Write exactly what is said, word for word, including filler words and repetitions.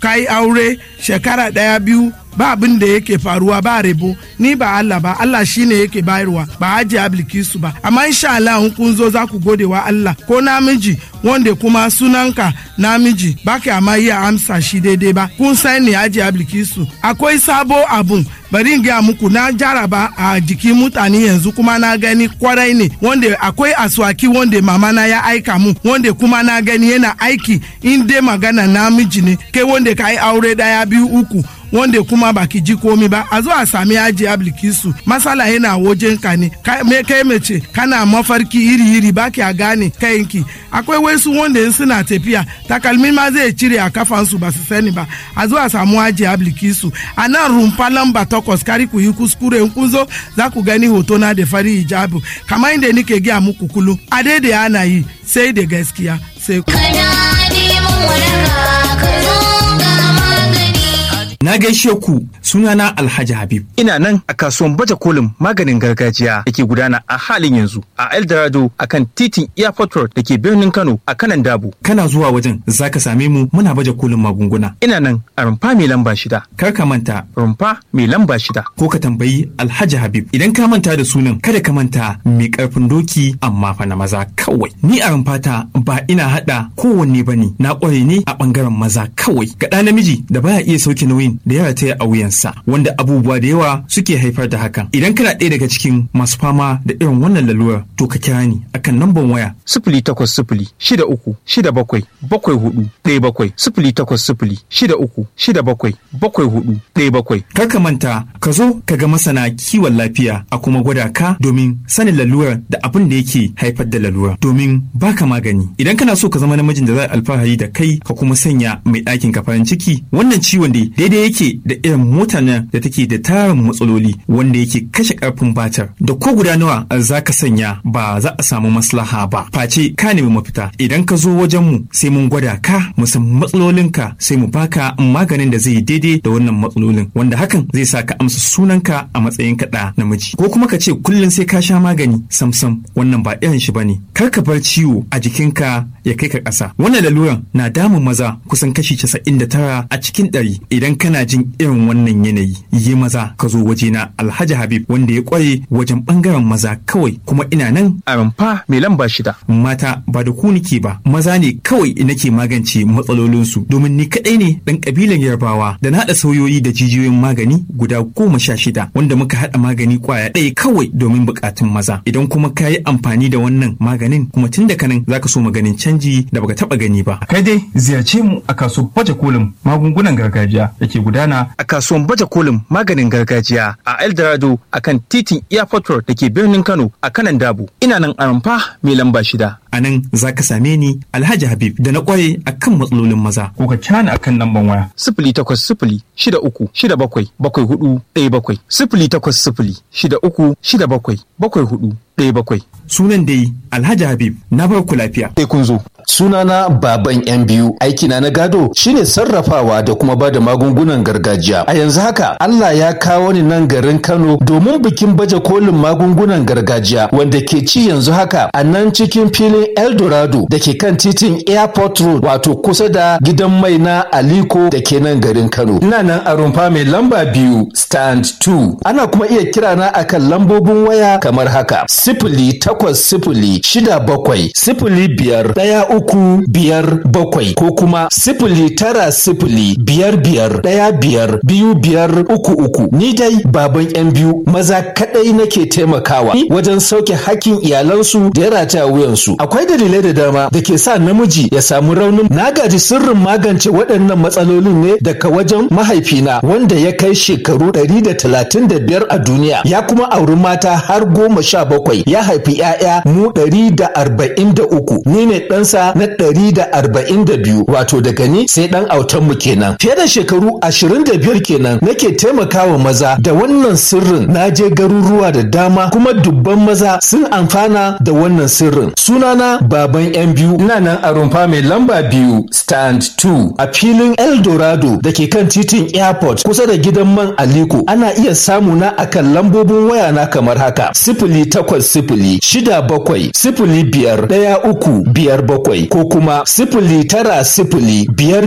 Ka yi aure shekara ɗaya, biyu, ba abin da yake faruwa, ba rebo. Ni ba Allah ba, Allah shine yake bayarwa, ba Hajiya Bilkisu ba. Amma insha Allah in kun zo za ku gode wa Allah. Ko namiji wanda kuma sunanka namiji ba ka amma iya amsa shi daidai ba, kun san ni Hajiya Bilkisu akwai sabo abun. Bari in gaya muku, na jaraba a jikin mutane, yanzu kuma na gani kwarai ne. Wanda akwai aswaki wanda mama na ya aika mu, wanda kuma na gani yana aiki. In dai magana namiji ne kai wanda ka yi aure daya, biyu, uku, wanda kuma baki ji komi ba, a zo a sami Hajiya Bilkisu. Masala yana wajen ka ne. Kai mace kana mafarki iri iri, baki a gane kayanki. Akwai wasu wanda in suna tafiya, takalmi ma zai cire a kafansu, ba su sani ba. A zo a samu Hajiya Bilkisu a nan rumfa lamba takwas. Kari ku yi kuskure, in kun zo za ku gani hoto na da fari hijabu. Kamar inda nike gaya muku kullum, a daidai ana yi sai da gaskiya sai ku. Na gaishe ku, sunana Alhaji Habib. Ina nan a kasuwan baje kolin maganin gargajiya da ke gudana a halin yanzu a Eldorado akan titin Airport Road da ke birnin Kano a kanan Dabo. Kana zuwa wajen zaka same mu muna baje kolin magunguna. Ina nan a rumfa mai lamba shida. Kar ka manta. Rumfa mai lamba shida. Ko ka tambayi Alhaji Habib. Idan ka manta da sunan, kada ka manta mai karfin doki, amma fa na maza kawai. Ni a rumfata ba ina hada kowanne bane, na kware ne a bangaren maza kawai. Ga ɗa namiji da baya iya sauke nauyin da ya rataya a wuyansa, wanda abubuwa da yawa suke haifar da hakan. Idan kana ɗaya daga cikin masu fama da irin wannan lalurar, to ka kira ni akan namban waya sifili takwas sifili shida uku shida bakwai bakwai hudu ɗaya bakwai, sifili takwas sifili shida uku shida bakwai bakwai hudu ɗaya bakwai. Kar ka manta, ka zo ka ga masana kiwon lafiya a kuma gwada ka domin sanin lalurar da abin da yake haifar da lalurar domin baka magani. Idan kana so ka zama namijin da za a alfahari da kai, ka kuma sanya mai ɗakin ka farin ciki, wannan ciwon dai daidai yake da irin motar nan da take da tarin matsaloli wanda yake kashe karfin batar, da ko guda nawa za ka sanya ba za a samu maslaha ba face ka nemi mafita. Idan ka zo wajen mu, sai mun gwada ka, mu san matsalolinka, sai mu baka maganin da zai daidai da wannan matsalolin, wanda hakan zai sa ka amsa sunanka a matsayin ka ɗa namiji. Ko kuma ka ce kullum sai ka sha magani, samsam wannan ba irin shi bane. Kar ka bar ciwo a jikinka ya kai ka ƙasa. Wannan laluran na damun maza kusan kashi casa'in da tara a cikin ɗari. Idan kana jin irin wannan yanayi, yi maza ka zo wajena Alhaji Habib wanda ya kware wajen bangaren maza kawai. Kuma ina nan a rumfa mai lamba shida. Mata ba da ku nike ba, maza ne kawai nake magance matsalolinsu, domin ni kadai ne dan kabilan Yarbawa da na haɗa sauyoyi da jijiyoyin magani guda goma sha shida wanda muka haɗa magani kwaya ɗaya kawai domin buƙatun maza. Idan kuma ka yi amfani da wannan maganin, kuma tun da kanan zaka so maganin canji da baka taɓa gani ba. Kai dai ziyarce mu a kasuwar baje kolin magungunan gargajiya da ke gudana a kasuwan baje kolin maganin gargajiya a Eldorado akan titin Airport Road da ke birnin Kano a kanan Dabo. Ina nan a rumfa mai lamba shida. A nan za ka same ni Alhaji Habib da na kware akan matsalolin maza. Ko ka kira ni akan lamban waya sifili takwas sifili shida uku shida bakwai bakwai hudu ɗaya bakwai, sifili takwas sifili shida uku shida bakwai bakwai hudu ɗaya bakwai. Sunan dai Alhaji Habib, na bar ku lafiya. Sai kun zo. Sunana Baban Yan Biyu, aikina na gado shine sarrafawa da kuma bada magungunan gargajiya. A yanzu haka Allah ya kawo ni nan garin Kano domin bikin baje kolin magungunan gargajiya wanda ke ci yanzu haka a nan cikin filin Eldorado da ke kan titin Airport Road, wato kusa da gidan mai na Aliko da ke nan garin Kano. Ina nan a rumfa mai lamba biyu, stand biyu. Ana kuma iya kira na akan lambobin waya kamar haka: sifili takwas sifili shida bakwai sifili biyar ɗaya uku biyar bakwai ko kuma sifili tara sifili biyar biyar ɗaya biyar biyu biyar uku uku. Ni dai Baban Yan Biyu, maza kaɗai nake taimakawa wajen sauke hakkin iyalansu da ya rataya wuyansu. Akwai dalilai da dama da ke sa namiji ya samu raunin. Na gaji sirrin magance waɗannan matsalolin ne daga wajen mahaifina wanda ya kai shekaru ɗari da talatin da biyar a duniya, ya kuma auri mata har goma sha bakwai, ya haifi 'ya'ya mu ɗari da arba'in da uku. Ni ne ɗansa na ɗari da arba'in da biyu, wato daga ni sai ɗan autanmu kenan. Fiye da shekaru ashirin da biyar kenan nake taimakawa maza da wannan sirrin. Na je garuruwa da dama kuma dubban maza sun amfana da wannan sirrin. Sunana Baban Yan Biyu, ina nan a rumfa mai lamba biyu, stand biyu, a filin Eldorado da ke kan titin Airport kusa da gidan man Aliko. Ana iya samu na akan lambobin waya na kamar haka: sifili takwas sifili shida bakwai sifili biyar ɗaya uku biyar bakwai ko kuma sifili tara sifili biyar biyar